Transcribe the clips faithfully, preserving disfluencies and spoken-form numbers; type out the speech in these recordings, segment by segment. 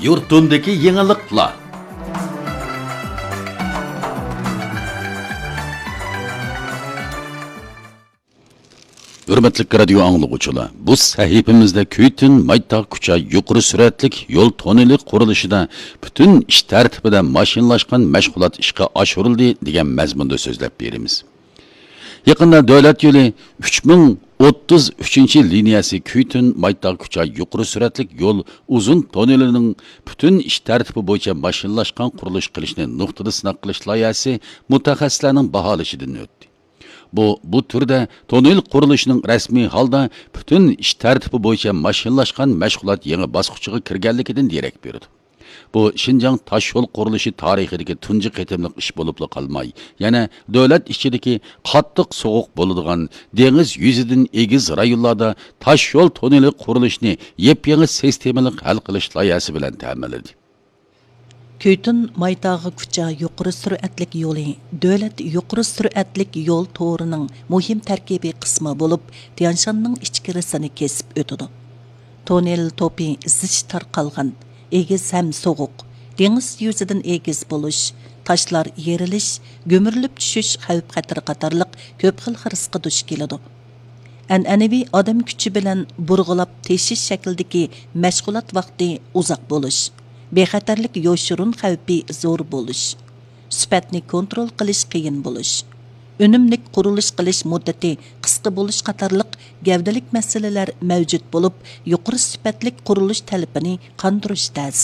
يۇرتۇمدىكى يېڭىلىقلار. ھۆرمەتلىك رادىيو ئاڭلىغۇچىلار، بۇ سەھىپىمىزدە كۈيتۈن مايتاغ كۇچا يۇقىرى سۈرئەتلىك يول توننېلى قۇرۇلۇشىدا پۈتۈن ئىش تەرتىپىدە ماشىنىلاشقان مەشغۇلات ئىشقا ئاشۇرۇلدى دېگەن مەزمۇندا سۆزلەپ بېرىمىز. يېقىندا دۆلەت يولى ئۈچ مىڭ ئوتتۇز ئۈچىنچى لىنىيەسى كۈيتۈن مايتاغ كۇچا يۇقىرى سۈرئەتلىك يول ئۇزۇن توننېلىنىڭ پۈتۈن ئىش تەرتىپى بويىچە ماشىنىلاشقان قۇرۇلۇش قىلىشنى نۇقتىدا سىناق قىلىش لايىھەسى مۇتەخەسسىسلەرنىڭ باھالىشىدىن ئۆتتى. بۇ، بۇ تۈردە توننېل قۇرۇلۇشىنىڭ رەسمىي ھالدا پۈتۈن ئىش تەرتىپى بويىچە ماشىنىلاشقان مەشغۇلات يېڭى باسقۇچىغا كىرگەنلىكىدىن دېرەك بېرىدۇ. بۇ، شىنجاڭ تاشيول قۇرۇلۇشى تارىخىدىكى تۇنجى قېتىملىق ئىش بولۇپلا قالماي، يەنە دۆلەت ئىچىدىكى قاتتىق سوغۇق بولىدىغان دېڭىز يۈزىدىن ئېگىز رايونلاردا تاشيول توننېلى قۇرۇلۇشىنى يېپيېڭى سىستېمىلىق ھەل قىلىش لايىھەسى بىلەن تەمىنلىدى. كۈيتۈن مايتاغ كۇچا يۇقىرى سۈرئەتلىك يولى دۆلەت يۇقىرى سۈرئەتلىك يول تورىنىڭ مۇھىم تەركىبىي قىسمى بولۇپ، تيانشاننىڭ ئىچكىرىسىنى كېسىپ ئۆتىدۇ. توننېل توپى زىچ تارقالغان، ئېگىز ھەم سوغۇق، دېڭىز يۈزىدىن ئېگىز بولۇش، تاشلار يېرىلىش، گۈمۈرۈلۈپ چۈشۈش خەۋپ-خەتىرى قاتارلىق كۆپ خىل خىرىسقا دۇچ كېلىدۇ. ئەنئەنىۋى ئادەم كۈچى بىلەن بۇرغىلاپ تېشىش شەكلىدىكى مەشغۇلات ۋاقتى ئۇزاق بولۇش، بىخەتەرلىك يوشۇرۇن خەۋپى زور بولۇش، سۈپەتنى كونترول قىلىش قىيىن بولۇش، ئۈنۈملۈك قۇرۇلۇش قىلىش مۇددىتى قىسقا بولۇش قاتارلىق گەۋدىلىك مەسىلىلەر مەۋجۇت بولۇپ، يۇقىرى سۈپەتلىك قۇرۇلۇش تەلىپىنى قاندۇرۇش تەس.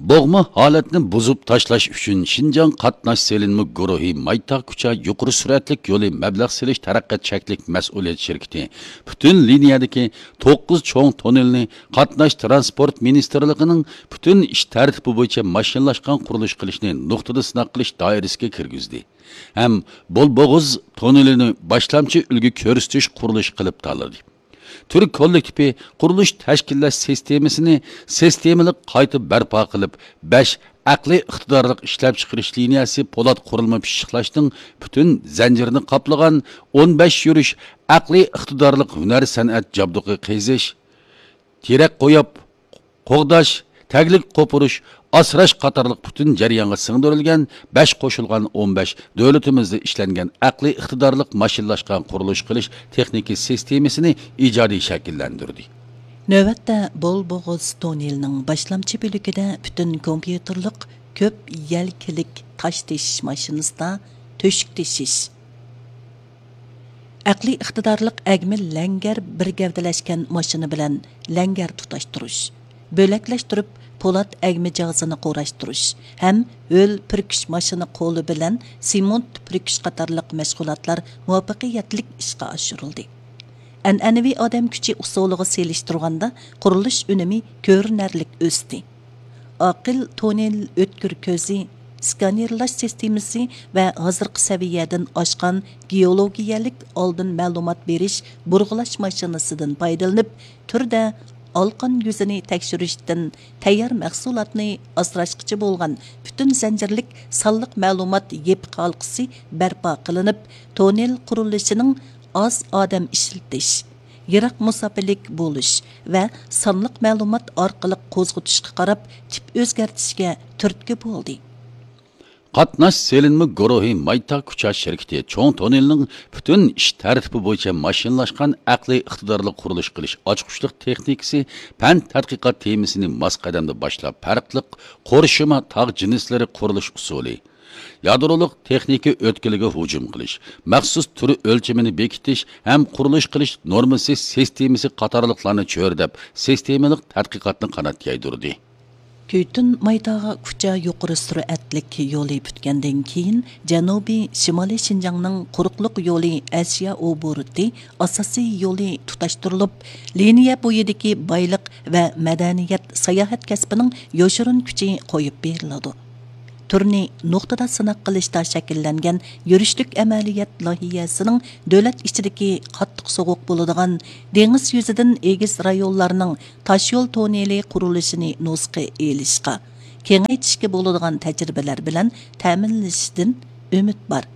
بوغما ھالەتنى بۇزۇپ تاشلاش ئۈچۈن شىنجاڭ قاتناش سېلىنما گۇرۇھى مايتاغ كۇچا يۇقىرى سۈرئەتلىك يولى مەبلەغ سېلىش تەرەققىيات چەكلىك مەسئۇلىيەت شىركىتى پۈتۈن لىنىيەدىكى توققۇز چوڭ توننېلنى قاتناش تىرانسپورت مىنىستىرلىقىنىڭ پۈتۈن ئىش تەرتىپى بويىچە ماشىنىلاشقان قۇرۇلۇش قىلىشنى نۇقتىدا سىناق قىلىش دائىرىسىگە كىرگۈزدى ھەم بولبوغۇز توننېلىنى باشلامچى ئۈلگە كۆرسىتىش قۇرۇلۇشى قىلىپ تاللىدى. تۈر كوللېكتىپى قۇرۇلۇش تەشكىللەش سىستېمىسىنى سىستېمىلىق قايتا بەرپا قىلىپ، بەش ئەقلىي ئىقتىدارلىق ئىشلەپچىقىرىش لىنىيەسى پولات قۇرۇلما پىششىقلاشنىڭ پۈتۈن زەنجىرىنى قاپلىغان ئون بەش يۈرۈش ئەقلىي ئىقتىدارلىق ھۈنەر سەنئەت جابدۇقى قېزىش، تېرەك قويۇپ، قوغداش، تەگلىك قوپۇرۇش، ئاسراش قاتارلىق پۈتۈن جەريانغا سىڭدۈرۈلگەن بەش قوشۇلغان ئون بەش دۆلىتىمىزدە ئىشلەنگەن ئەقلىي ئىقتىدارلىق ماشىنىلاشقان قۇرۇلۇش قىلىش تېخنىكا سىستېمىسىنى ئىجادىي شەكىللەندۈردى. نۆۋەتتە بولبوغۇز توننېلىنىڭ باشلامچى بۆلىكىدە پۈتۈن كومپيۇتېرلىق كۆپ يەلكىلىك تاش تېشىش ماشىنىسىدا تۆشۈك تېشىش، ئەقلىي ئىقتىدارلىق ئەگمە لەڭگەر بىر گەۋدىلەشكەن ماشىنا بىلەن لەڭگەر تۇتاشتۇرۇش، بۆلەكلەشتۈرۈپ پولات ئەگمە جاھىزىنى قۇراشتۇرۇش ھەم ھۆل پۈركۈش ماشىنا قولى بىلەن سېمونت پۈركۈش قاتارلىق مەشغۇلاتلار مۇۋەپپەقىيەتلىك ئىشقا ئاشۇرۇلدى. ئەنئەنىۋى ئادەم كۈچى ئۇسۇلىغا سېلىشتۇرغاندا قۇرۇلۇش ئۈنۈمى كۆرۈنەرلىك ئۆستى. ئاقىل توننېل ئۆتكۈر كۆزى، سكانېرلاش سىستېمىسى ۋە ھازىرقى سەۋىيەدىن ئاشقان گېئولوگىيەلىك ئالدىن مەلۇمات بېرىش بۇرغىلاش ماشىنىسىدىن پايدىلىنىپ، تۈردە ئالقان يۈزىنى تەكشۈرۈشتىن تەييار مەھسۇلاتنى ئاسراشقىچە بولغان پۈتۈن زەنجىرلىك سانلىق مەلۇمات يېپىق ھالقىسى بەرپا قىلىنىپ، توننېل قۇرۇلۇشىنىڭ ئاز ئادەم ئىشلىتىش، يىراق مۇساپىلىك بولۇش ۋە سانلىق مەلۇمات ئارقىلىق قوزغىتىشقا قاراپ تىپ ئۆزگەرتىشكە تۈرتكە بولدى. قاتناش سېلىنما گۇرۇھى مايتاغ كۇچا شىركىتى چوڭ توننېلنىڭ پۈتۈن ئىش تەرتىپى بويىچە ماشىنىلاشقان ئەقلىي ئىقتىدارلىق قۇرۇلۇش قىلىش ئاچقۇچلۇق تېخنىكىسى پەن تەتقىقات تېمىسىنى ماس قەدەمدە باشلاپ، پەرقلىق قورشىما تاغ جىنسلىرى قۇرۇلۇش ئۇسۇلى، يادرولۇق تېخنىكا ئۆتكىلىگە ھۇجۇم قىلىش، مەخسۇس تۈر ئۆلچىمىنى بېكىتىش ھەم قۇرۇلۇش قىلىش نورمىسى سىستېمىسى قاتارلىقلارنى چۆرىدەپ، سىستېمىلىق تەتقىقاتنى قانات يايدۇردى. كۈيتۈن مايتاغ كۇچا يۇقىرى سۈرئەتلىك يولى پۈتكەندىن كېيىن، جەنۇبىي شىمالىي شىنجاڭنىڭ قۇرۇقلۇق يولى ئەشيا ئوبوروتى ئاساسىي يولى تۇتاشتۇرۇلۇپ، لىنىيە بويىدىكى بايلىق ۋە مەدەنىيەت، ساياھەت كەسپىنىڭ يوشۇرۇن كۈچى قويۇپ بېرىلىدۇ. تۈرنى نۇقتىدا سىناق قىلىشتا شەكىللەنگەن يۈرۈشلۈك ئەمەلىيەت لايىھەسىنىڭ دۆلەت ئىچىدىكى قاتتىق سوغۇق بولىدىغان دېڭىز يۈزىدىن ئېگىز رايونلارنىڭ تاشيول توننېلى قۇرۇلۇشىنى نۇسخا ئېلىشقا، كېڭەيتىشكە بولىدىغان تەجرىبىلەر بىلەن تەمىنلىشىدىن ئۈمىد بار.